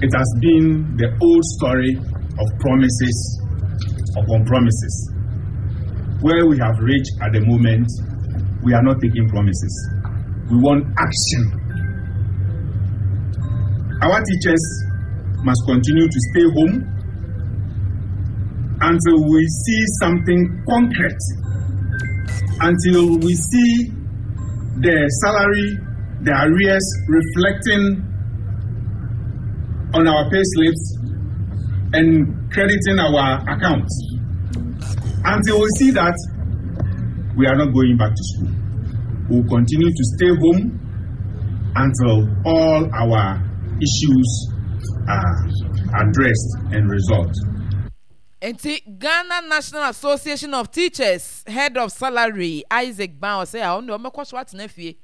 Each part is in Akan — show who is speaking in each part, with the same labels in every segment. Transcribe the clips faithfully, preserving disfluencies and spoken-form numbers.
Speaker 1: It has been the old story of promises upon promises. Where we have reached at the moment, we are not taking promises. We want action. Our teachers must continue to stay home until we see something concrete, until we see the salary, the arrears reflecting on our pay slips and crediting our accounts. Until we see that, we are not going back to school. We will continue to stay home until all our issues are addressed and resolved.
Speaker 2: Nti Ghana National Association of Teachers head of salary, Isaac Ban, ɔsɛ a ɔno deɛ ɔmɛkɔ so atena fie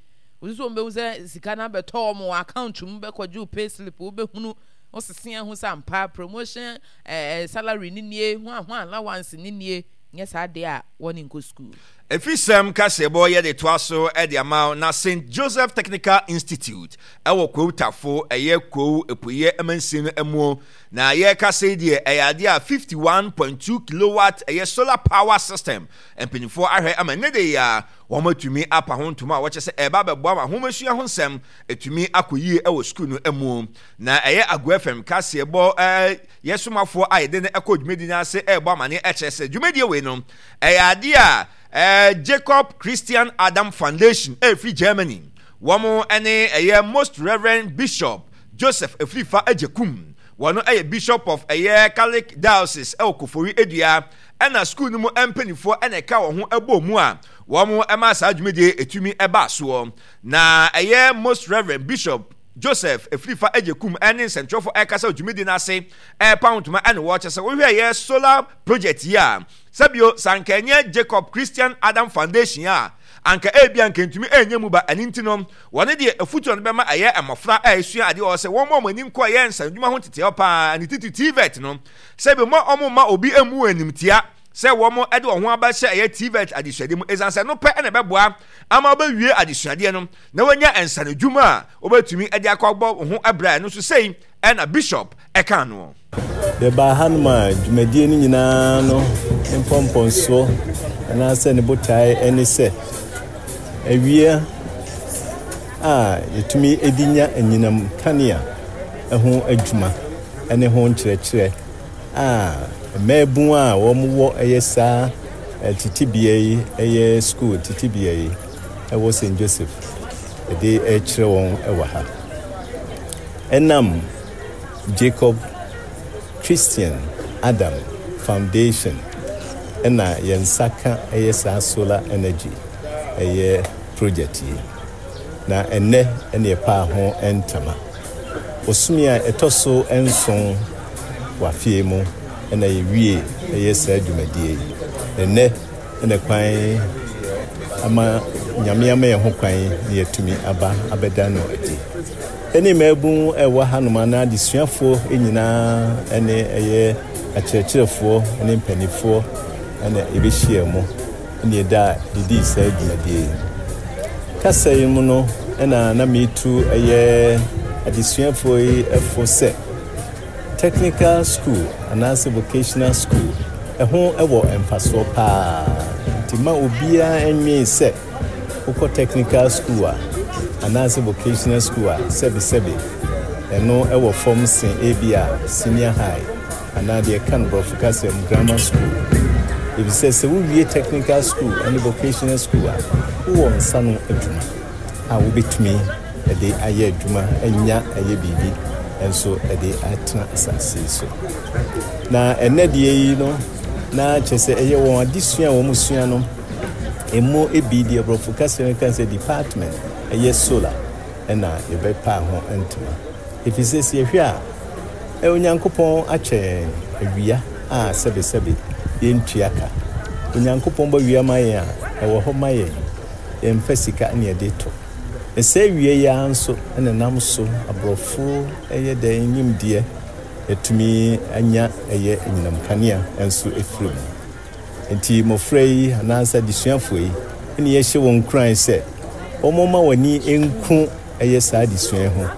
Speaker 2: osusu wɔn bɛhu sɛ sika no abɛtɔ wɔn wɔ account mu, bɛkɔgye pay slip, wobɛhunu wosese ahu sɛ ampa promotion ɛɛ eh, salary ni nie, ho a ho allowance ni nie. Nyɛ saa deɛ a, wɔne nkɔ school.
Speaker 3: Efisɛm kaseɛbɔ yɛde toa so de ama wo. Na Saint Joseph Technical Institute ɛwɔ Kwawu Tafo, ɛyɛ Kwawu Apueɛ mansin no mu. Na yɛrekasa yi deɛ, ɛyɛ adeɛ a fifty-one point two kilowatt ɛyɛ solar power system mpanimfoɔ ahwɛ ama ne de yɛ a wɔn atumi apa ho ntoma a wɔkyɛ sɛ ɛreba abɛboa ma ahomasua ho nsɛm atumi akɔ yie ɛwɔ sukuu no mu. Na ɛyɛ Ago F M kaseɛbɔ ɛɛ yɛsomafoɔ a yɛde no ɛkɔ dwumadi no ase ɛrebɔ amaneɛ ɛkyerɛ sɛ dwumadie wei no ɛyɛ adeɛ a ɛɛ Jacob Christian Adam Foundation ɛfiri Germany, wɔn ɛne ɛyɛ Most Reverend Bishop Joseph Efirifa Agyekum, wɔn ɛyɛ Bishop of ɛyɛ Catholic Diocese ɛwɔ Kofori Edua, ɛna sukuu no mu mpanimfoɔ ɛna ɛka wɔn ho ɛbɔ mu a wɔn ɛma saa dwumadie etumi ɛba soɔ. Na ɛyɛ Most Reverend Bishop Joseph Efirifa Agyekum ɛne nsɛntwerɛfoɔ ɛkasa dwumadie no ase ɛrepa ntoma ɛna wɔkyɛ sɛ wohwɛ ɛyɛ solar project yi a, sɛbio sanka ɛnyɛ Jacob Christian Adam Foundation a, anka ebi anka ntumi ɛnyɛ mu ba. Ɛne nti no, wɔne deɛ efutuo no bɛma ɛyɛ mmɔfra a esua adeɛ wɔ sɛ wɔn a wɔn ani nkɔ ɛyɛ nsanodwuma ho teteɛ paa ne titi T V E T no, sɛbi mo wɔn ma obi emu animtia sɛ wɔn de wɔn ho abɛhyɛ ɛyɛ T V E T adesuadeɛ mu, ɛsiane sɛ no pɛ ɛna ɛbɛboa ama wɔbɛwie adesuadeɛ no na wɔanya nsanodwuma a wɔbɛtumi de akɔ abɔ wɔn ho ɛbrɛ. Ɛno nso sei ɛna Bishop ɛka no.
Speaker 4: Yɛbaa hanom a dwumadie no nyinaa no mpɔmpɔnsoɔ anaasɛ ne botae ne sɛ awia a yɛtumi de nya anyinam kanea ho adwuma ne ho nkyerɛkyerɛ a mmaabun a wɔwɔ ɛyɛ saa tetebea yi, ɛyɛ school tetebea yi ɛwɔ Saint Joseph, ɛde ɛkyerɛ wɔn wɔ ha. Ɛnam Jacob Christian Adam Foundation ɛna yɛn nsa ka ɛyɛ saa solar energy ɛyɛ project yi, na ɛnnɛ ɛne ɛpaa ho ntama. Bosome a ɛtɔ so nson wɔ afie mu ɛna yɛwie ɛyɛ saa dwumadie yi. Ɛnnɛ ɛna kwan ama Nyame ama yɛn ho kwan na yɛatumi aba abɛda no adi. Ɛne mmaabun ɛwɔ hanom anaa adesuafoɔ nyinaa ɛne ɛyɛ akyerɛkyerɛfoɔ ne mpanimfoɔ ɛna yɛbɛhyia mu ɛne yɛda didii saa dwumadie yi. Kasa yi mu no, ɛna na metu ɛyɛ adesuafoɔ yi ɛfo sɛ technical school anaasɛ vocational school ɛho ɛwɔ mfasoɔ paa, nti ma obiara nwee sɛ wokɔ technical school a anaasɛ vocational school a, sɛbesɛbe ɛno ɛwɔ fam sen ebi a senior high anaa deɛ ɛka no borɔfo kasa mu grammar school, efisɛ sɛ wowie technical school ne vocational school a, wowɔ nsa no adwuma a wobɛtumi ɛde ayɛ adwuma anya ɛyɛ biribi nso ɛde atena asase yi so. Na ɛnɛ deɛ yi no, na kyerɛ sɛ ɛyɛ wɔn adesua a wɔn sua no emu ebi deɛ borɔfo kasa no ka sɛ department ɛyɛ solar ɛna yɛbɛpa ho ntoma, ɛfiri sɛ sɛ yɛhwɛ a, Onyankopɔn akyɛ yɛn awia a sɛbesɛbe yɛntua ka. Onyankopɔn bɔ wia ma yɛn a, ɛwɔ hɔ ma yɛn, yɛmfa sika ne yɛde to. Na sɛ awia yi ara nso ɛna nam so aborɔfo ɛyɛ dɛ nimdeɛ atumi anya ɛyɛ anyinam kanea nso ɛfiri mu. Nti mmɔfra yi anaasɛ adesuafoɔ yi ɛne yɛhyɛ wɔn nkuran sɛ wɔn ma wɔn ani nku ɛyɛ saa adesua yi ho.